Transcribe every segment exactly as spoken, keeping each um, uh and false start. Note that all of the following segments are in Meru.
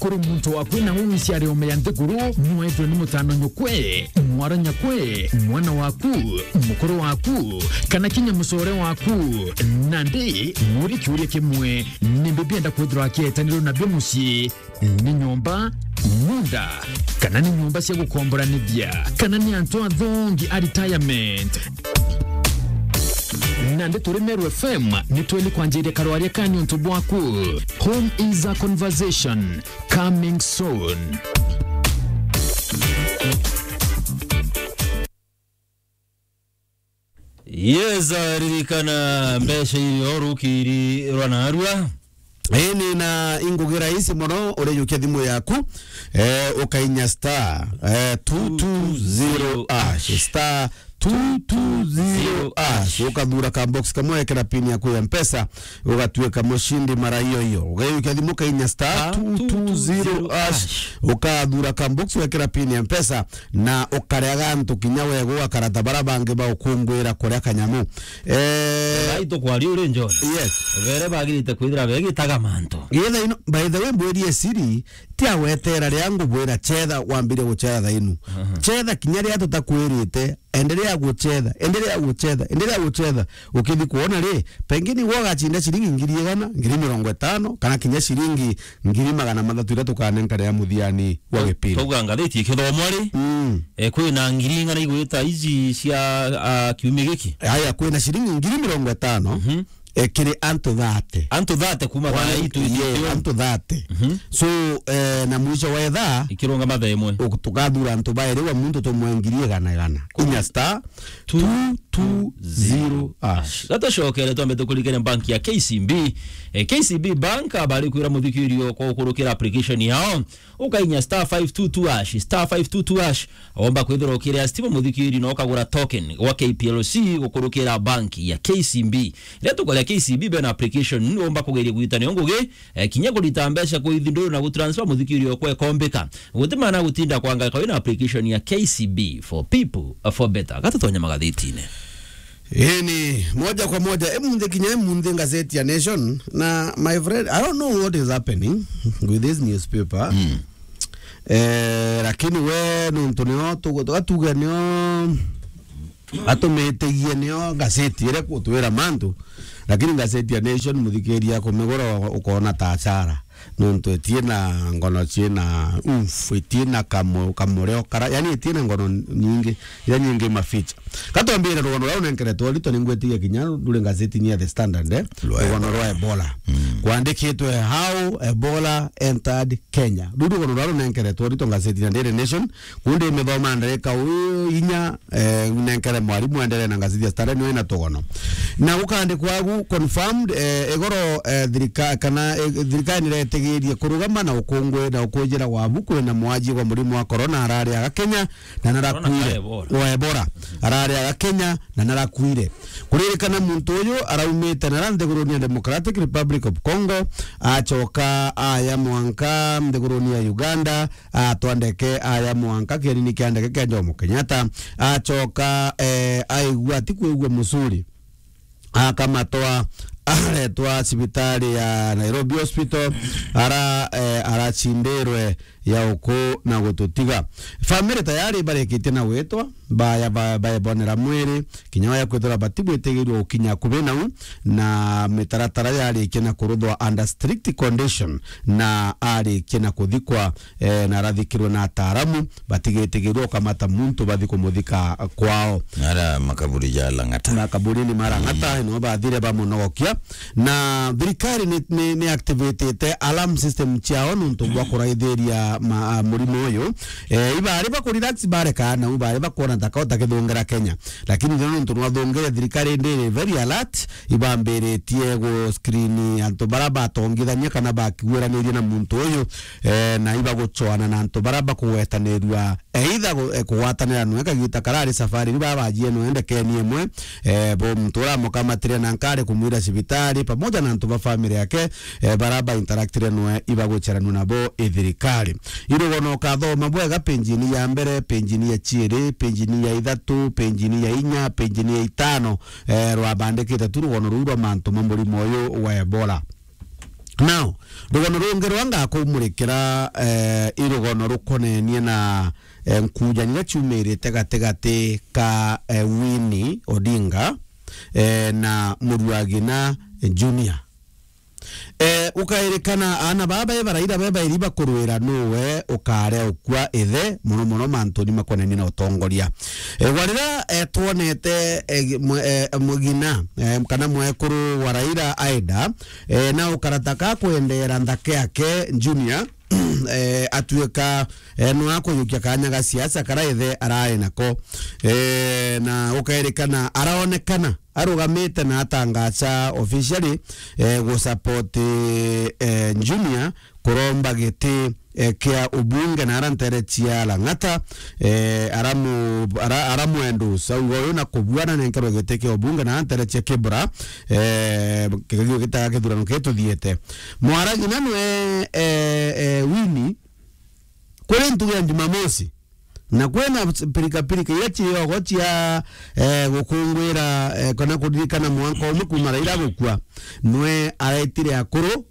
Uri muntu waku na uu iciari ome ya nthiguru, nwetwe ni mutano nyukwe, mwara nyakwe, mwana waku, mukuru waku, kana kinya mucore waku. Nandi, muri kiuria kimwe, nimbi bienda kwithirwa akietanirwe nabio mucii? Ni nyomba, munda, kana ni nyomba cia gukomboranithia, kana ni antu athongi a retirement? Nandi turi Meru F M, ni tweli kwanjiria karwaria ka niuntu bwaku. Home is a conversation. Coming soon. Yes, ririkana mbeca irio rukiri rwa narua. Ini na ingugi rahisi mono, urijukia thimu yaku, eh, ukainya star, eh, two two zero hash, star two two zero hash. Ukathura ka box kamwe, wekera pin yaku ya Mpesa, ugatuika mushindi mara iyo iyo. Ugaijukia thimu, ukainya star two two zero hash, ukathura ka box, wekera pin ya Mpesa, na ukaria gantu kinya wega, ugakara ta bara bangi baukungwira kuria kanyamu. Eh, Rai tukwaria uri John. Yes. Bere bagirite kwithira begitaga mantu. Githa ino, by the way, mbwirie siri, ti agwetera ria ngubwira chetha wambire guchetha thainu. Aha. Chetha kinya ria tutakwirite, endelea guchetha, endelea guchetha, endelea guchetha. Ukithi kuona ri, pengine gwo gacinda ciringi ngiri igana, ngiri mirongo itano, kana kinya ciringi ngiri magana mathatu iria tukanenka ria muthiani wa gipindi. Twauga ngathiti ikithomwa ri, mm, eh, kwina ngiri ing'ana igwita iji cia, ah, kiumia giki? Aya, kwina ciringi ngiri mirongo itano, mhm, eh, kiri antu thate. Antu thate kuma kwa, thaa ii twi-, yeah, antu thate. Mhm. So, eh, na mwisho wa ithaa, ikirunga mathaa imwe, uk-, tukathura antu bairi, wa muntu tumwe ngiri igana igana. Inya star two two zero hash. Gatucokere twambe tukurikire bank ya K C B. Eh, K C B Bank, abari kwira muthikiri okwa ukurukira application yao. Ukainya star five two two hash, star five two two hash. Omba kwithira ukiria stima muthikiri na ukagura token gwa K P L C gukurukira bank ya K C B. Riria tukoria K C B bena application, omba kugeria kugitania ngugi, eh, kinya kurita mbeca kwithinduru na gutransfer muthikiri okwa ekombika. Guti maana gutinda kwanga kawina application ya K C B for people, uh, for better. Gatutonya magathitine. Ini, moja kwa moja, emunthi kinya emunthi ngazeti ya Nation, na my friend, I don't know what is happening with this newspaper. Mm. Eh, lakini we nuntu nio tugu-, tugatuga nio atumitigie nio ngazeti iria kutwira mantu, lakini ngazeti ya Nation muthikiria kumigura ukona ta achara. Nontu itie na ngono ciina umf, itie na kamu-, kamureo kara, yani itie na ngono nyingi, iria nyingi maficha. Katwambire rugano rwa unenkeretwe rito ningwitigia kinya nduri ngazeti ni ya The Standard, eh? Rwa rugano Ebola. Rwa Ebola. Mm. Kwandikitwe, "How Ebola entered Kenya." Ruu rugano rwa runenkeretwe rito ngazeti na Daily Nation, kundi mithoma ndarika u inya, eh, nenkere mwarimu endelee na ngazeti ya Standard, niwe ina tugono. Na gukandikwa agu confirmed, eh, igoro, eh, thirika-, kana, eh, thirikari niretigirie kurugama na ukungwi na ukunjira wabu kwina mwaji gwa murimo wa corona arari aga Kenya, na narakwire. Corona ka Ebola. Wa Ebola. Arari aga Kenya, na narakwire. Kuririkana muntu uyu araumite nara nthiguruni ya Democratic Republic of Congo, acoka aya mwanka nthiguruni ya Uganda, atwa ndeke aya mwanka kienini kia ndeke kia Jomo Kenyatta, acoka, eh, aigua atikwigua mucuri, akamatwa aretwa cibitari ya Nairobi Hospital, ara, eh, aracindirwe ya uku na gututiga. Family tayari barikitie na gwitwa, baya ba-, baebonera mwiri, kinya waya kwithirwa batibwitigirwe gukinya akubi nau, na mitaratara yarikia na kuruthwa under strict condition, na arikia na kuthikwa, eh, na arathikirwe na ataaramu, batigitigirwe ukamata muntu bathi kumuthika kwao. Ara makaburi ja Lang'ata. Makaburini ma Lang'ata, mm, no bathire bamunogokia. Na thirikari ni, ni, ni activatite alarm system ciao nuntu bwa kuraithiria ma-, a, murimo uyu. Eh, ibari bakurelax bareka nau, ibari bakwona ta kao ta kithungera Kenya. Lakini thina nuntu nwathungire, thirikari ndi iri very alert, ibambiritie gu screen antu bara batongithania kana bakigwiranirie na muntu uyu, eh, na ibagucwana na antu bara bakugwetanirua either gu-, eh, kugwatanira nwe kagita karari safari, riu babajie nwe ndekeni imwe, eh, bo muntu uramukamatire na nkari kumwira cibitari, pamoja na antu ba family yake, eh, bara ba interaktire nwe ibagwicaranua nabo i thirikari. Irugono ukathoma bwega penjini ya mbere, penjini ya ciiri, penjini ya ithatu, penjini ya inya, penjini ya itano, eh, rwabandikite tu rugono ruu rwa mantu ma murimo uyu wa Ebola. Now, rugono rungi rwa ngakumurikira, eh, i rugono rukonenie na, eh, nkujanio iria ciumirite gatigati ka, eh, Winnie Odinga, eh, na Muruagina Junior. Eh, ukairikana aana baba be baraira be bairi bakurwira nuwe ukarea ukua ithe, mono mono mantuni makonenie na utongoria. Eh, gwa riria, eh, twonete, eh, mwe-, eh, mugina, eh, kana mwekuru wa Raila aenda, eh, na ukarata ka kwendera nthaka yake Junior, eh, atuika, eh, nwa kujukia kanya ga siasa kara ithe arari nako. Eh, na ukairikana araonekana arugamite na atangacha officially, eh, gusupport, eh, Junior kuromba giti, eh, kia ubunge na ara ntere cia Lang'ata, eh, aramu-, ara-, aramwendu saugo uyu na kubuana nenkerwe giti kia ubunge na ara ntere cia Kibra, eh, kigagio gitaga kithurano kituthiete. Mwaragina nwe, eh, eh, Winnie, kuri ntugu ya Jumamosi, na kwina pirikapirika iria ciogo cia, eh, gukungwira, eh, kana kuririkana mwanka umwe kuma Raila gukua, nwe araitire akuru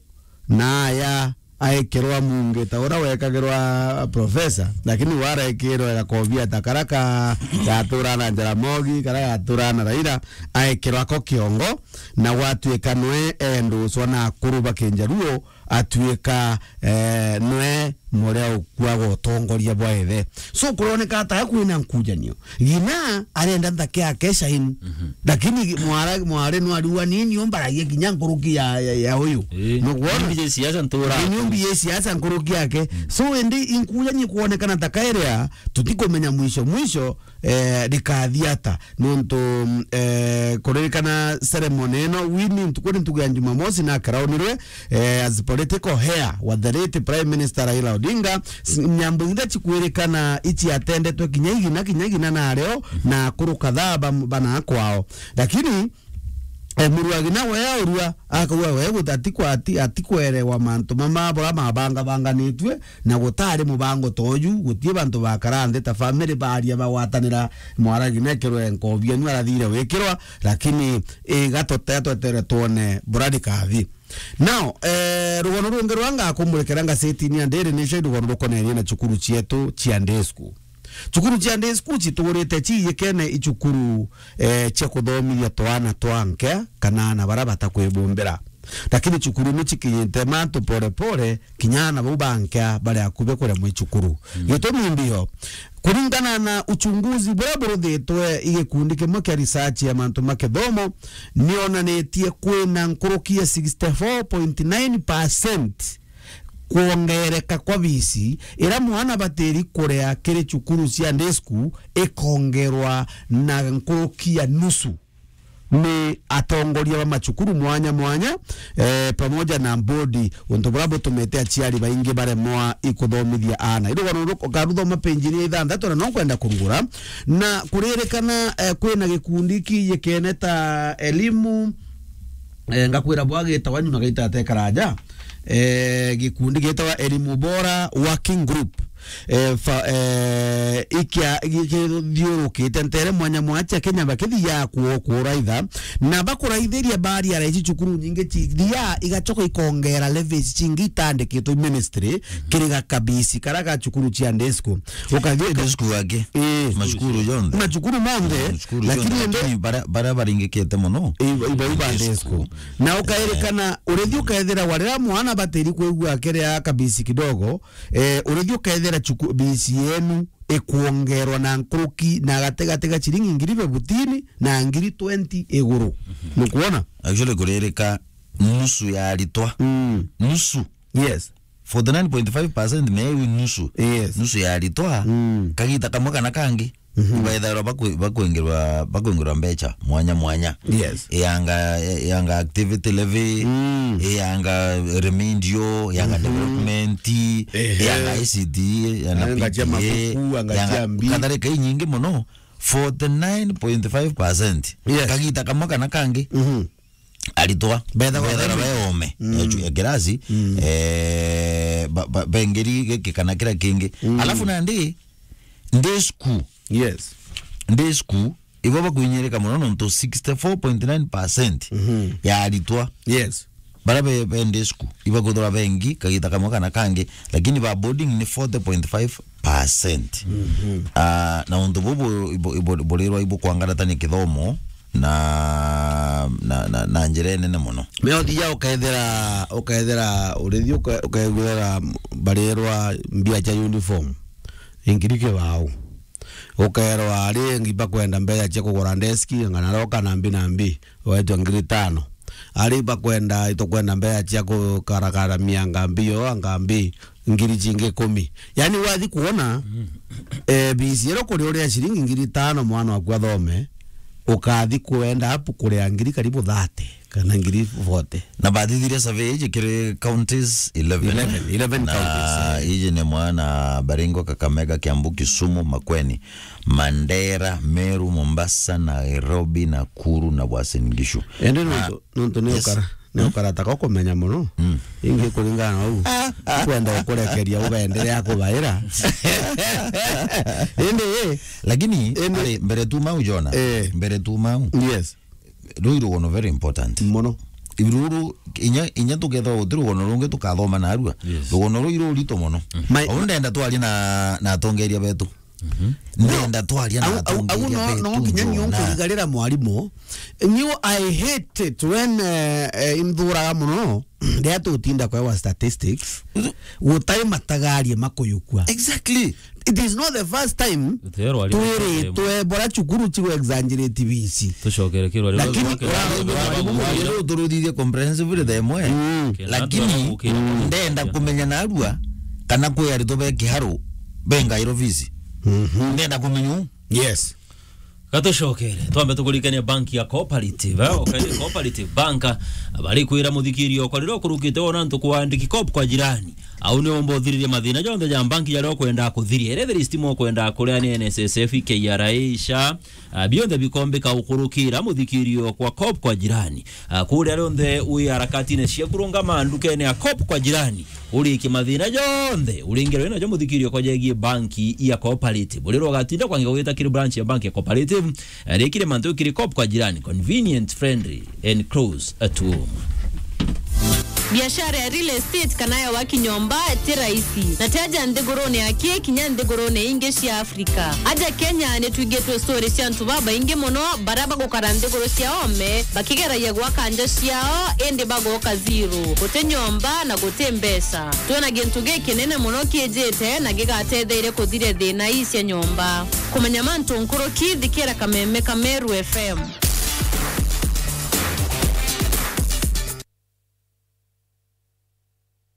na aya aekirwa mungi ta uria wekagirwa profesa, lakini we araekirwe gakobia ta kara ka gatura na Jaramogi, kara gatura na Raila, aekirwa ako kiongo, na gwatuika nwe enduswa na akuru ba Kinjaruo, atuika, eh, nwe muria ukua gwa utongoria bwa ithe. So, kuroneka ata kwina nkujanio. Ngina arenda nthaka yake shine. Mhm. Lakini mwara-, mwari no ariua nini umbaragia kinya nkuruki ya, ya, ya uyu. Ii. Nukwona? Nyumbi ya siasa ntura. Nyumbi ya siasa nkuruki yake. Mm. So, indi inkujanie kuonekana ta kairia tutikumenya mwisho. Mwisho, eh, rikathi ata? Nontu, mm, eh, kuririkana ceremony ino, Winnie ntuku ni ntuku ya Jumamosi na akaraunirwe, eh, as political heir wa the late Prime Minister Raila Odinga. S-, nyambo iria cikwirikana ici atendetwe kinya igina, kinya igina na areo, na akuru kadhaa ba, bana kwao. Lakini, eh, Muruagina we aurua, akauga we guti-, atikwa-, ati-, atikwerewa mantu mama bura mabangabanganitue, na gutari mubango toju, gutie bantu bakara nthi ta family baria bagwatanira, Mwaragina ekirwe nkobia nwe arathire wikirwa, lakini iga totea twetere twone bura rikathi. Now, eh, rugono rungi rwa ngakumurikira ngasetini ya Daily Nation, rugono rukonenie na cukuru cietu cia day school. Cukuru cia day school citugurite ciiyikene i cukuru, eh, cia kuthomithia twana twa nkea kana ana bara batakwibumbira. Lakini cukuru ni cikinyite mantu pore pore, kinya ana bau ba nkea bari akubi kuremwa i cukuru. Mm. Gitumi mbio, kuringana na uchunguzi buria buruthitwe i gikundi kimwe kia research ya mantu ma kithomo, nionanitie kwina nkuruki ya sixty-four point nine percent kwongereka kwa bisi ira mwana batiri kurea kiri cukuru cia day school ikongerwa na nkuruki ya nusu ni atongoria ba macukuru mwanya mwanya, eh, pamoja na bodi, untu buria butumite aciari baingi baremwa ikuthomithia ana. Irugono karuthoma page ya ithanthatu na no kwenda kurugura, na kuririkana, eh, kwina gikundi kiiyikene ta elimu, eh, ngakwira bwa gitawa nyuma gaita atekaraja, eh, gikundi gitawa Elimu Bora Working Group, eh, fa-, eh, ikia-, gikithiurukite ntere mwanya mwanya cia Kenya bakithia kuo kuraitha, na bakuraithiria baria raici cukuru nyingi cithia igacoka ikongera levies cingi itandikitwe ministry kiri ga kabisi kara ga cukuru cia day school. Ukathi uka- Day school ake? Eh. Macukuru jonthe? Macukuru monthe, Mm, cukuru lakini jonthe, ende lakini bara-, bara baringikite muno. Iba, iba, iba day school. Na ukairikana, urithi ukethira warira mwana batiri kwigua akiria kabisi kidogo, eh, urithi ukethira cuku-, bisi yenu ikwongerwa na nkuruki na gatigati ga ciringi ngiri fifteen na ngiri twenty iguru. Nukwona? Actually, kuririka nusu ya aritwa. Mm. Nusu. Yes. Forty nine point five percent me iu nusu. Yes. Nusu ya aritwa. Mm. Kagita kamwe kana kangi. Mhm. Ibaithairwa bakwi-, bakwingirwa, bakwingirwa mbecha mwanya mwanya. Yes. Iyanga, iyanga activity levy, Mm. iyanga remindio, iyanga Mhm. development, Ehe. iyanga I C T, iyanga Anga cia P T A, mabuku, anga iyanga cia mbi. Kadhalika inyingi muno, forty nine point five percent. Yes. Kagita kamwe kana kangi. Mhm. Aritwa. Bethagwa bethagwa be- be ome. Mm. Ya chu-, ya kirasi, Mm. eh, ba-, ba-, bengeri giki kana kira kingi. Mm. Alafu nandi, day school. Yes. Day school, ibo bakwinyirika muno nontu sixty-four point nine percent Mhm. ya aritwa Yes. Bara be, be day school, ibakwithirwa bengi, kagita kamwe kana kangi, lakini ba boarding ni forty point five percent. Mhm. Ah, na untu bubu ibu-, ibu-, burirwa ibukwangaratania kithomo na, na, na, na njira inene mono. Me uthia ukethira, ukethira urithi uke-, ukethira barirwa mbia cia uniform, ingiri kibao. Ukerwa ari ingi bakwenda mbeca cia kugura deski, ngana roka na mbi na mbi, wetwa ngiri tano. Ari bakwenda, itukwenda mbeca cia kukarakaramia ngambi yo, ngambi ngiri cingi ikumi. Yani wathi kuona, eh, bisi ero kuri uria ciringi ngiri tano mwana waku athome, ukathi kuenda apu kuria ngiri karibu thirty kana ngiri forty. Na bathithirie survey iji kiri counties eleven. Eleven, eleven na counties, eh. Iji ni mwana Baringo, Kakamega, Kiambu, Kisumu, Makueni, Mandera, Meru, Mombasa, Nairobi, Nakuru na Uasin Gishu. Ende na nontu, nontu ni, yes, ukara, ni, hmm, ukara taka kumenya mono. Hmm. Ingi kuringana na u. Ah, ah, kwenda, ah, ukurekeria ugaendelea kubaira. Indi, lakini, indi, ari, mbere tu mau, Jona. Eh. Mbere tu mau. Yes. Ruu i rugono very important mono. Ruru, inya, inya tukethirwa guti rugono rungi tukathoma narua. Yes. Rugono ruu i rurito mono. Mm. Au ndenda twarie na, na atongeria betu. Mhm. Ndenda twaria na, au, au, au atongeria no, betu, no kinya nio Jona, nkuigarira mwarimu. Nio I hate it when, eh, eh, inthuraga mono. Riria tutinda kwewa statistics, gutari matagarie makuyukua. Exactly. It is not the first time twiritwe bora cukuru cigu exaggerate bisi. Tucokere kirwa riu. Lakini riu turuthithie comprehensively the imwe. Mm. Lakini ndenda kumenya narua kana kwi aritwa be kiharu bengairwo bisi. Mhm. Ndenda kumenya u. Yes. Gatucokere, twambe tukurikania banki ya Cooperative, eh? Okay, Cooperative Bank, bari kwira muthikirio kwa riria ukurukite wona antu kwandiki Coop kwa jirani. Au ni umba uthiririe mathina jonthe ja banki jaria ukwenda kuthiria. Ere the least mo ukwenda kuria ni N S S F, K R A, SHA, ah, bionthe bikombika ukurukira muthikirio kwa Coop kwa jirani. Ah, kuria rionthe wi harakatine cia kurungama ndukene ya Coop kwa jirani. Urikie mathina jonthe uringirwe najo muthikirio kwa jegie banki ya Cooperative. Urirwa ugatinda kwangi gwita kiri branch ya banki ya Cooperative, eh, rikire mantu kiri Coop kwa jirani, convenient, friendly and close at home. Biashara ya real estate kana ya waki nyomba ti rahisi. Na ti aja nthigurune ya ki kinya nthigurune ingi cia Afrika. Aja Kenya ni twigitwe story cia antu babaingi mono bara bagukara nthiguru cia ome bakigeragia gwaka nja ciao indi bagoka zero. Guti nyomba na guti mbeca. Twona gintu gikinene mono kiijite na gigatetheire kuthiria thina ii cia nyomba. Kumenya mantu nkuruki, thikira Kameme ka Meru F M.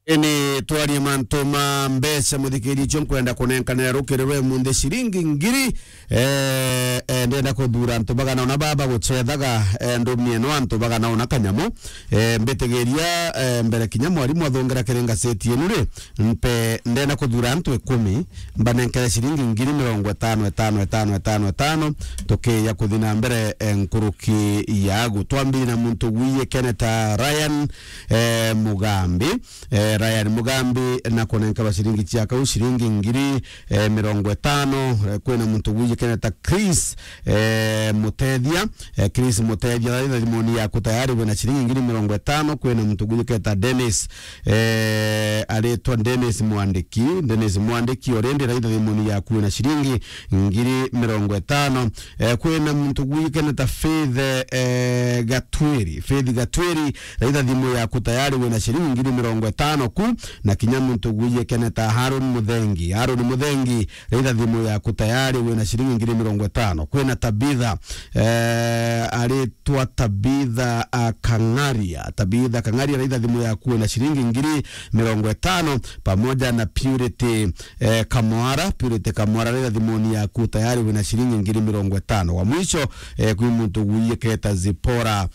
Ini twarie mantu ma mbeca, muthikiria, icio nkwenda kunenkanira rukiri rwe munthi ciringi ngiri. Eh, eh, ndenda kuthura antu bagana una baba gucethaga, eh, ndumie no antu bagana una kanyamu. Eh, mbitigiria, eh, mbere kinya mwarimu athongera kiri ngaseti inu ri, mpe ndenda kuthura antu ikumi, mbanenkere ciringi ngiri mirongo itano, itano, itano, itano, itano, tukiya kuthi na mbere, eh, nkuruki yagu. Twambiri na muntu gwikeneta Ryan, eh, Mugambi. Eh, Ryan Mugambi na kunenkerwa ciringi cia kau, ciringi ngiri, eh, mirongo itano. Eh, kwina muntu gwikeneta Chris, eh, Mutethia. Eh, Chris Mutethia, raitha thimuni yaku tayari wina ciringi ngiri mirongo itano. Kwina muntu gwikeneta Dennis, eh, aritwa Dennis Mwandiki. Dennis Mwandiki, already raitha thimuni yaku wina ciringi ngiri mirongo itano. Eh, kwina muntu gwikeneta Faith, eh, Gatwiri. Faith Gatwiri, raitha thimu yaku tayari wina ciringi ngiri mirongo itano ku, na kinya muntu gwikeneta Harun Muthengi. Harun Muthengi, raitha thimu yaku tayari wina ciringi ngiri mirongo itano. Kwina Tabitha, eh, aritwa Tabitha, ah, Kang'aria. Tabitha Kang'aria, raitha thimu yaku wina ciringi ngiri mirongo itano, pamoja na Purity, eh, Kamwara. Purity Kamwara, raitha thimuni yaku tayari wina ciringi ngiri mirongo itano. Wa mwisho, eh, kwi muntu gwikeneta Zipora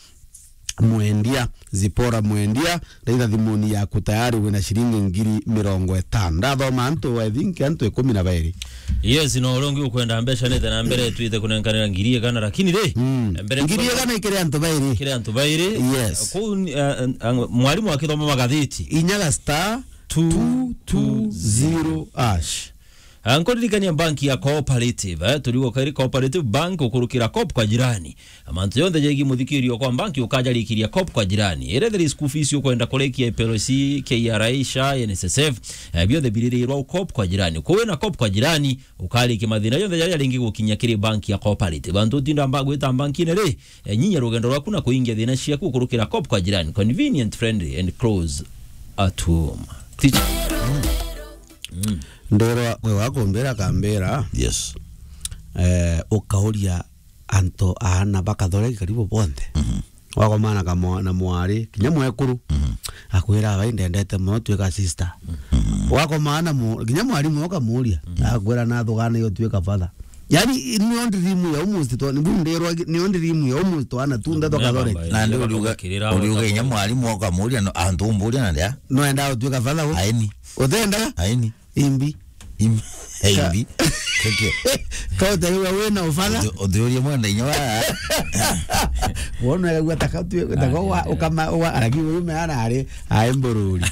Mwendia, Zipora Mwendia, raitha thimuni yaku tayari wina ciringi ngiri mirongo itano. Ndathoma antu, I think antu ikumi na bairi. Yes, no uria ungi ukwenda mbeca nithe na mbere twite kunenkanira ngiri igana, lakini ri, mm, mbere ngiri igana ikiri antu bairi. Ikiri antu bairi. Yes. Kuu ni, eh, eh, mwarimu akithoma magathiti. Inyaga star two two zero hash. Ah, nkuririkania banki ya Cooperative, eh, turiuga kairi Cooperative Bank ukurukira Coop kwa jirani. Mantu yonthe jegie muthikirio kwa banki ukajarikiria Coop kwa jirani. Ere thiri school fees ukwenda kurekia P L C, K R A, SHA, N S S F, eh, biothe biririrwa Coop kwa jirani. Kuwe na Coop kwa jirani, ukarikia mathina yonthe jaria ringi gukinya kiri banki ya Cooperative. Bantu utinda mba gwita bankine ri, eh, nyinya rugendo rwaku na kuingia thina ciaku ukurukira Coop kwa jirani. Convenient, friendly and close at home. Teacher. Ndirwa mwe wakumbira kambira. Yes. Eh, ukauria antu aana bakathoreki karibu bonthe. Mhm. Wakomana kamwa-, na mwari, kinya mwekuru, mhm, akwira, "Abai ndendete mono, twika sister." Mhm. Wakomana mu-, kinya mwarimu ukamuria, mhm, akwira, "Nathugana iyo twika father." Yani, niyo ndirimu ya almost twa-, nibu ndirwa, niyo ndirimu ya almost twana tunthe twakathoreki. Na ndi uriuga, uriuga kinya mwarimu ukamuria, no, antu umburia na ndia? No enda utwika father u? Aini. Uthendaga? Aini. Imbi. Im-, imbi. Keke. Ka utariwa wina ubatha. Uthi-, uthiurie mwana inya wa. Wona yagua taka tu, taka wa, ukama, wa, araki uyu me ana ari, ai mbururi.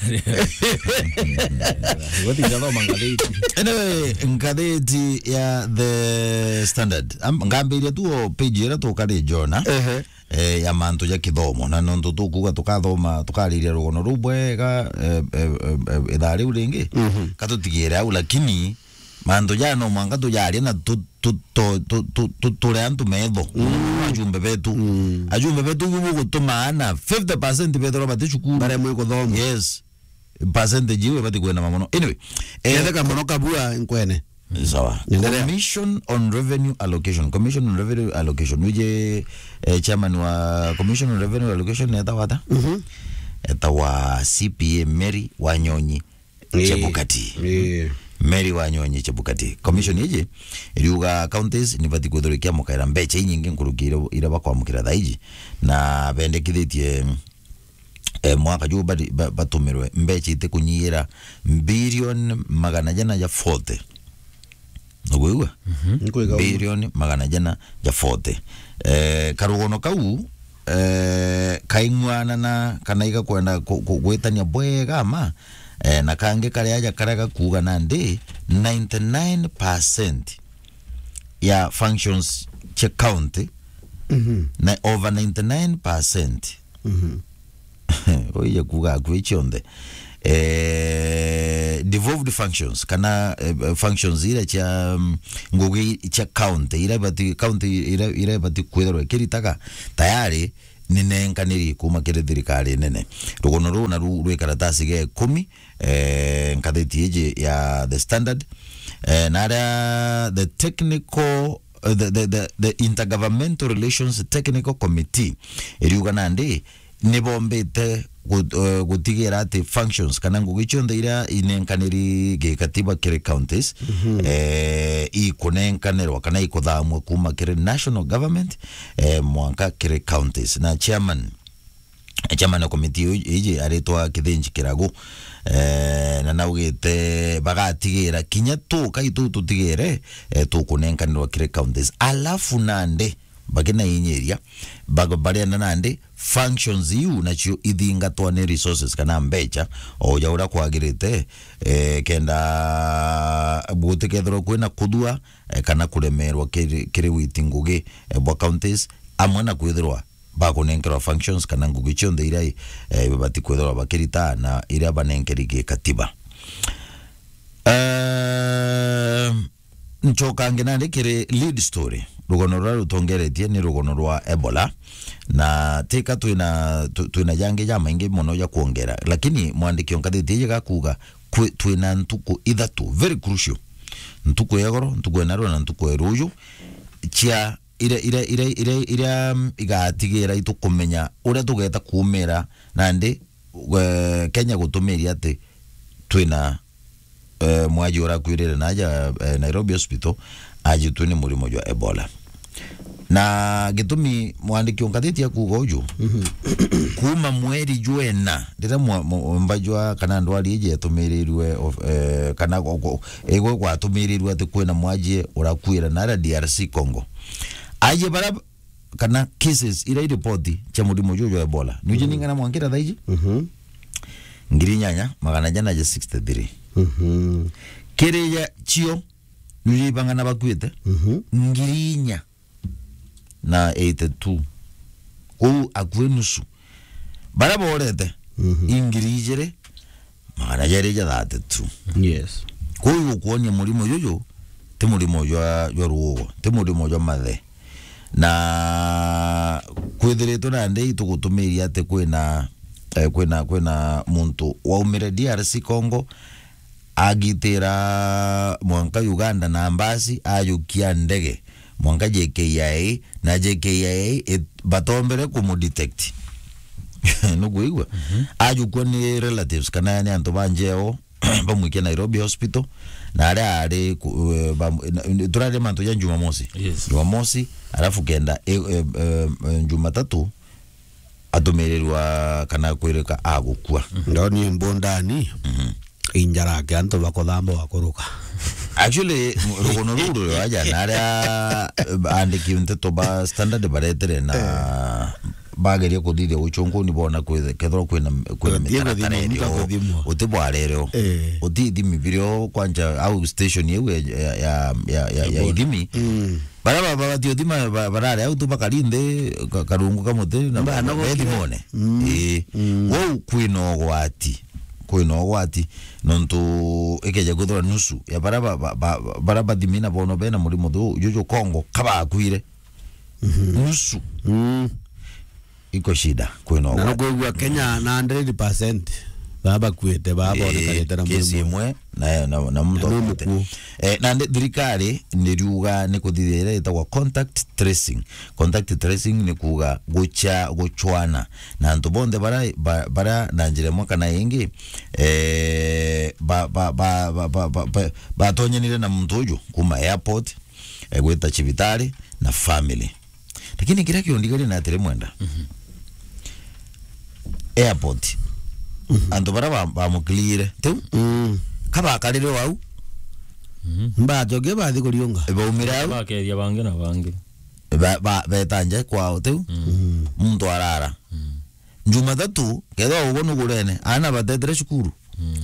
Goti jathoma ngatheti. Anyway, ngatheti ya The Standard. Am-, ngambiria tu o page ira tukari Jona. Ehe. Eh, ya mantu ja kithomo. Na nontu tukuuga tukathoma, tukariria rugono ruu bwega, eh, eh, eh, eh, ithaa riu ringi, mhm, ka tutigire au, lakini mantu jaa no mwanka tujaria na tu-, tu-, tu-, tu-, tu-, tu-, ture antu metho. Mm. Ajumbe betu. Mm. Ajumbe betu ibu bugutuma ana fifty percent bethirwa bati cukuru. Baremwe kuthoma. Yes. Percentage iu ibati kwinama mono. Anyway, eh, ketheka mono kabua nkwene. Sawa. Endelea. Commission on Revenue Allocation. Commission on Revenue Allocation. Wije, eh, chairman wa Commission on Revenue Allocation etawa ata? Mhm. Etawa C P A Mary Wanyonyi, eh, Chebukati. Eh. Mary Wanyonyi Chebukati. Commission iji iriuga counties nibati kwithirwa ikiamukaira mbecha inyingi nkuruki ira, ira bakwamukira thaa iji. Na bendekithitie eh, mwaka juu bari-, ba-, batumirwe mbecha itikunyiira bilioni magana jana ja forty. Nugwigua? Mhm. Nkwigua. Bilioni magana jana ja forty. Eh, karugono kau, eh, kaing'wanana kana igakwenda ku-, ku-, gwitania bwega ma, eh, na kangi kari aja karia gakuuga nandi ninety nine percent ya functions cia county, mhm, na over ninety nine percent. Mhm. Uije kuuga akui cionthe. Eh, devolved functions, kana, eh, functions ira cia, mm, ngugi cia county, ira ibati, county ira, ira ibati kwithirwa ikiritaga, tayari ni nenkaniri kuuma kiri thirikari nene. Rugono ruu naru rwi karatasi ga ikumi, eh, ngatheti iji ya The Standard, eh, na aria the technical, eh, the, the, the, the Intergovernmental Relations Technical Committee iriuga nandi nibombite gu-, eh, gutigira ati functions kana ngugi cionthe iria inenkaniri gikatiba kiri counties, mhm, eh, ikunenkanirwa kana ikuthamua kuuma kiri national government, eh, mwanka kiri counties. Na chairman Chairman wa committee iji aritwa Kithinji Kiragu, eh, na naugite bagatigira kinya tu, kai tu tutigire, eh, tukunenkanirwa kiri counties. Alafu nandi, bakinainyiria, bag-, barienda nandi functions iu nacio ithingatwa ni resources kana mbecha, o ja uria kwagirite, eh, kenda gutikethirwa kwina kuthua, eh, kana kuremerwa kiri, kiri witi ngugi, eh, bwa counties, amwe na kwithirwa bakunenkerwa functions kana ngugi cionthe iria, eh, ibabati kwithirwa bakirita na iria banenkeri gikatiba. Ehm, nchokange nandi kiri lead story. Rugono ruria rutongeretie ni rugono rwa Ebola, na tika twina, tw-, twina jangi jamaingi mono ja kwongera, lakini mwandiki o ngatheti iji gakuuga kwi-, twina ntuku ithatu very crucial, ntuku ya igoro, ntuku ya narua na ntuku ya ruju, cia iria, iria, iria, iria, iria, mm, igatigira itukumenya uria tugeta kuumira nandi, eh, Kenya gutumiria ati twina, eh, mwaji urakwirire naja, eh, Nairobi Hospital, ajitwe ni murimo jwa Ebola. Na gitumi mwandiki o ngatheti akuuga uju, mhm, kuuma mweri jwena, riria mwa-, mwa-, mba jwa kana ndwari iji yatumirirwe of-, eh, kana go-, go-, igwe gwatumirirwe ati kwina mwaji urakuira naria D R C Congo. Aji bara kana cases ira iripoti cia murimo juju jwa Ebola. Niji, mhm, ningana mwankira thaiji? Mhm. Ngiri inyanya, magana jana ja sixty-three. Mhm. Kiri ja cio Nujibangana bakuite? Mhm. Ngiri inya na eighty-two. Kou akue nusu. Bara borete, Mhm. i ngiri ijiri, magana jeri ja thirty-two. Yes. Kou igukuonia murimo juju, ti murimo jwa, jwa ruugo, ti murimo jwa mathe. Na kwithiritwe nandi itugutumiria ati kwina, eh, kwina, kwina muntu waumire D R C Congo, agitira mwanka Uganda na mbasi, ajukia ndege mwanka J K I A, na J K I A it-, batombere kumudetect. Nukwigua? Mhm. Ajukua ni relatives, kana yani antu ba njeo, bamwikia Nairobi Hospital, na aria ari ku-, eh, bam-, na, turari mantu ja Jumamosi. Yes. Jumamosi, alafu kenda, eh, eh, eh, eh, Jumatatu, atumirirwa kana kwirika agukua. Ndoni mbondani. Mhm. Injarake antu bakothamba wakuruka. Actually, mu-, rugono ruu ruri aja na aria, eh, andiki nteto ba Standard baretere na Eh. bageria kuthithia uchunguni bona kwithe-, kethirwa kwina, kwina Utie mitaratara guthimwa, erio. Uti bwarereo. Eh. Uti ithimi birio kwanja au station iu ya, ya, ya, ya, ya, ya ithimi. Mm. Bara ba-, ba-, batio thima ba-, barare au tu bakari nthi ka-, karungu ka muti na Ba-, ba-, nagokire. Bethimone. Mm. Ii. Mm. Wou kwina ugwati. Kwina ugwati. Nontu ikeja kwithirwa nusu ya bara ba-, ba-, ba-, bara bathimi na bono bena murimo thu-, juju Congo kabakwire. Mhm. Nusu. Mm. Iko shida, kwina Na ugwati. Nukwigua Kenya na hundred percent baba bakuite, baba Eh, bonekanite na kesi murimo. Imwe na, na, na muntu Na no akwite. Mukuo. Eh, na ndi-, thirikari niriuga ni kuthithia iria itagwa contact tracing. Contact tracing ni kuuga gucha-, guchwana na antu bonthe bara, ba-, bara na njira imwe kana ingi, eh, ba-, ba-, batonyanire na muntu uju kuma airport, eh, gwita cibitari na family. Lakini kiria kiundigaria ni atiri, Mwenda. Mhm. Airport. Mhm. Antu bara ba-, bamukirire. Tiu? Mm. Kabakarire au. Mhm. Mbacoke bathi kuriunga. Baumire au. Bakeethia bangi na bangi. Ba-, ba-, beta nja kwao, tiu? Mm. Muntu arara. Mm. Jumatatu, kethirwa ugo nugurene, aana batetire cukuru. Mm.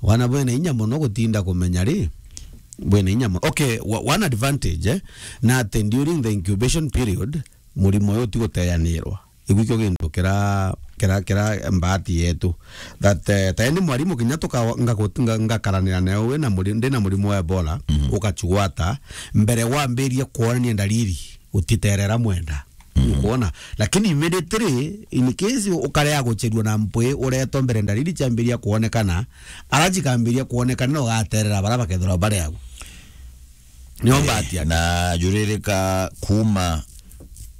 Wana bwena inya mono gutinda kumenya ri, bwena inya mono. Okay, wa-, one advantage, eh, na ati during the incubation period, murimo uyu ti guteyanirwa. Igu ikio gintu kira, kira, kira mbati yetu. That, eh, ta ni mwarimu kinya tuka-, ngaku-, nga-, ngakaranira nawe wina muri-, ndina murimo wa Ebola, Mhm. ukachugwata, mbere wambirie kwonania ndariri, utiterera, Mwenda. Mhm. Ukwona? Lakini immediately, in case ukarea gucherua na mpwi uretwa mbere ndariri ciambiria kwonekana, ara cikambiria kwonekana, no ugaterera bara bakethirwa bari agu. Nio Eh, mbati yake. Na juririka kuma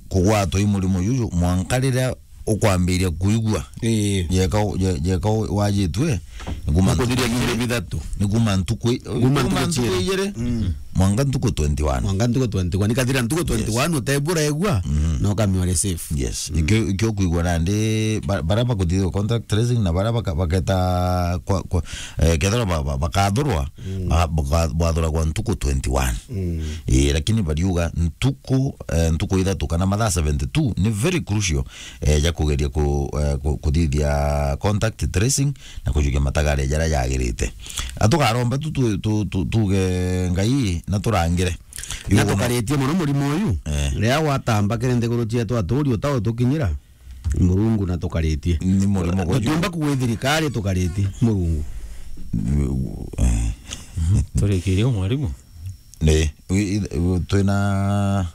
kugwatwa i murimo juju, mwanka riria ukwambiria kuigua. Ii. Jeka u-, je-, jeka u-, wajitwe, ni kuma Ntukuthiria ntuku biumia bithatu. Ni kuma ntuku i-, Kuma kuma ntuku ntuku ciiri. Ijiri, Mm. mwanka ntuku twenty-one. Mwanka ntuku twenty-one. Ikathira ntuku Yes. twenty-one, utebura egua, Mhm. na ukamia uri safe. Yes. Mm. Ikio, ikio kuigua nandi, ba-, bara bakuthithua contact tracing na bara baka-, baketa kwa, kwa, eh, kethira ba-, ba-, bakathurwa, Mm. ba-, baka-, bathuragwa ntuku twenty-one. Mm. Ii, lakini bariuga ntuku, eh, ntuku ithatu kana mathaa seventy-two ni very crucial, eh, ja kugeria ku-, eh, ku-, kuthithia contact tracing na kujukia matagare jaria jagirite. Atukaromba tu, tu, tu, tu, tuge Ngai na turangire. Na Yugo no- tukaritie mono murimo uyu. Eh. Riria gwatamba kiri nthiguru cietu aturi utao tukinyira. Murungu na tukaritie. Ni murimo gwa Tutiumba kuuga thirikari tukaritie. Murungu. Eh. Turikirie mwarimu. Ni, wi-, i-, twina,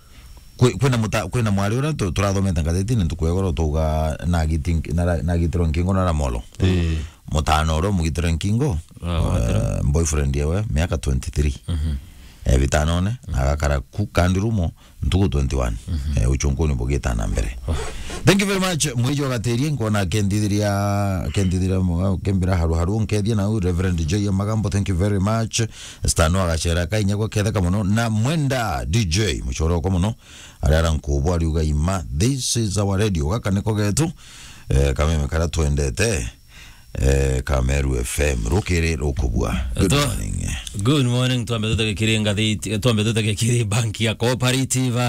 kwi-, kwina muta-, kwina mwari uria tu-, turathomete ngathitine ntuku ya igoro tuga nagiti-, nara-, nagitirwe nkingo na Ramolo. Ii. Mutano uria umugitirwe nkingo, Ah, wagitirwe. Eh, boyfriend yewe, miaka twenty-three. Mhm. Eh, bitanone, na agakara ku kandi rumo, ntuku twenty-one. Mhm. Eh, uchunguni bugita na mbere. Oh. Thank you very much. Mwiji wa Gatirie, nkona kendithiria, kendithiria mu-, kembira haru haru, nkethia nau, Reverend J Magambo, thank you very much. Stano agacera kainya gwa ketheka muno, na Mwenda D J, muchoro kwa muno, arara nkubu ariuga ima, this is our radio, gaka niko getu, eh, kameme kara twendete, eh, Kameru F M, rukiri rukubua. Good Eto- morning. Good morning, twambe tutege kiri ngathiti, twambe tutege kiri banki ya Cooperative.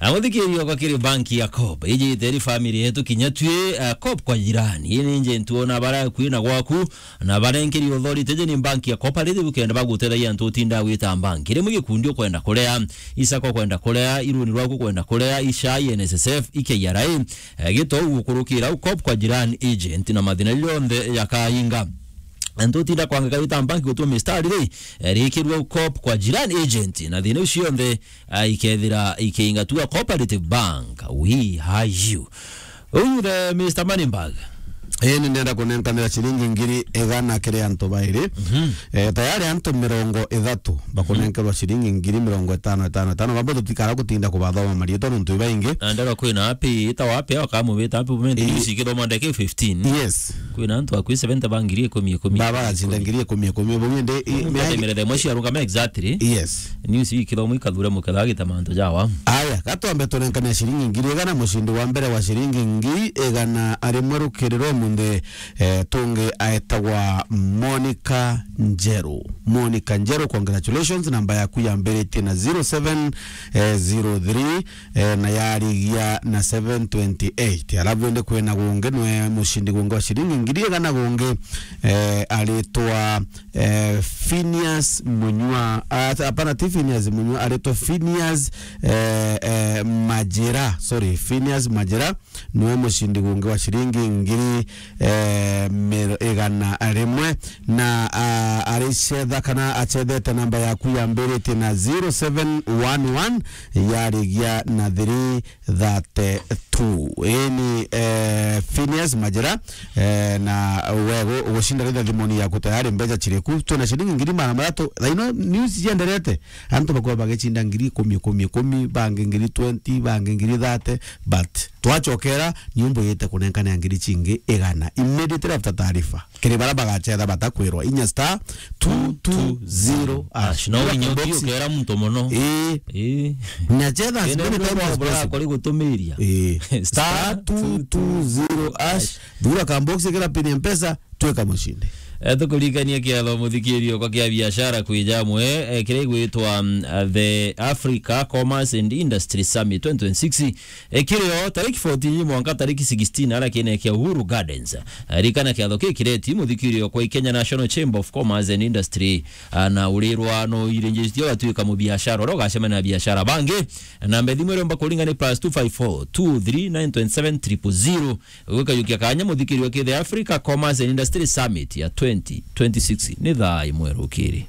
Ah, muthikirio kwa kiri banki ya Coop. Iji iteri family yetu kinya twi, ah, Coop kwa jirani. Ii ni nje ntuona bara kwina gwaku, na barenkeri authority je ni banki ya Cooperative ukenda bagutetheria antu utinda gwita banki. Rimwe gikundi ukwenda kurea, isako kwenda kurea, iruni rwaku kwenda kurea, ishai, N S S F, i K R A, eh, gito ugukurukira u Coop kwa jirani agent na mathina jonthe ya kainga. Antu utinda kwangika wita banki gutuma mistari ri, eh, rikirua u Coop kwa jirani agent na thina icio cionthe, eh, ikethira ikiingatua Cooperative Bank. We are you. Uyu the Mister Moneyberg. Ii, ni ndenda kunenkanira ciringi ngiri igana kiri antu bairi. Mhm. Eh, tayari antu mirongo ithatu bakunenkerwa ciringi ngiri mirongo itano, itano, itano. Bamwe tutikara gutinda kubathoma mariitwa nontu ibaingi. Na ndero kwina api, ita wapi, akamubita api, bumende Ii. News ikithoma ndeke fifteen. Yes. Kwina antu akwi seventy ba ngiri ikumi, ikumi, Baba ikumi, gacinda ikumi. Ngiri ikumi, ikumi. Bungi ndi, i, Mundu mea- atemerete mwe ciarungama exactly. Yes. News ikithoma ikathure muketha agita mantu jawa. Aya, gatwambe tunenkania ciringi ngiri igana, mucindi wa mbere wa ciringi ngiri igana ari mwe rukiri rwa munthi, eh, tungi aetagwa Monica Njeru. Monica Njeru, congratulations, namba yaku yambiritie na zero seven, eh, zero three, eh, na yarigia na seven twenty-eight. Alafu indi kwina gungi nwe mucindi gungi wa ciringi ngiri igana gungi, eh, aritwa eh, Phineas Munyua, ah, hapana, ti Phineas Munyua, aretwa Phineas, eh, eh, Majira, sorry, Phineas Majira, niwe mucindi gungi wa ciringi ngiri, eh, mir-, igana rimwe, na, ah, aricetha kana acethete namba yaku yambiritie na zero seven one one, yarigia na three thirty-two. Ii ni, eh, Phineas Majira, eh, na wego ugucinda ritha thimoni yaku tayari mbeca ciriku. Twina ciringi ngiri magana mathatu. Thaino news cienderete. Antu bakuwa bagicinda ngiri ikumi, ikumi, ikumi, bangi ngiri twenty, bangi ngiri thirty, but twacokera, nyumba yite kunenkana ngiri cingi igana. Immediately after taarifa. Kiri bara bagacetha batakwirwa, inya star two two zero hash. Na urinyoki ukera muntu mono. Ii. Ii. Na cetha as many times as possible. Kuri gutumiria. Ii. Star two two zero hash. Thura ka box, kira pin ya Mpesa, twika mucindi. Eh, tukuririkania kiatho muthikirio kwa kia biashara kwija amwe, eh, kiria igwitwa, mm, uh, the Africa Commerce and Industry Summit twenty twenty-six. Ikirio tariki fourteen mwanka tariki sixteen, ara kiene kia Uhuru Gardens. Ririkana kiatho kii kireti muthikirio kwa Kenya National Chamber of Commerce and Industry, ah, na urirwa no irinjitio gatwika mubiashara uria ugacemania na biashara bangi. Namba thimu iromba kuringa ni plus two five four two three nine twenty seven triple zero. Gwikayukia kanya muthikirio ki the Africa Commerce and Industry Summit ya twenty twenty-six ni thaa imwe rukiri.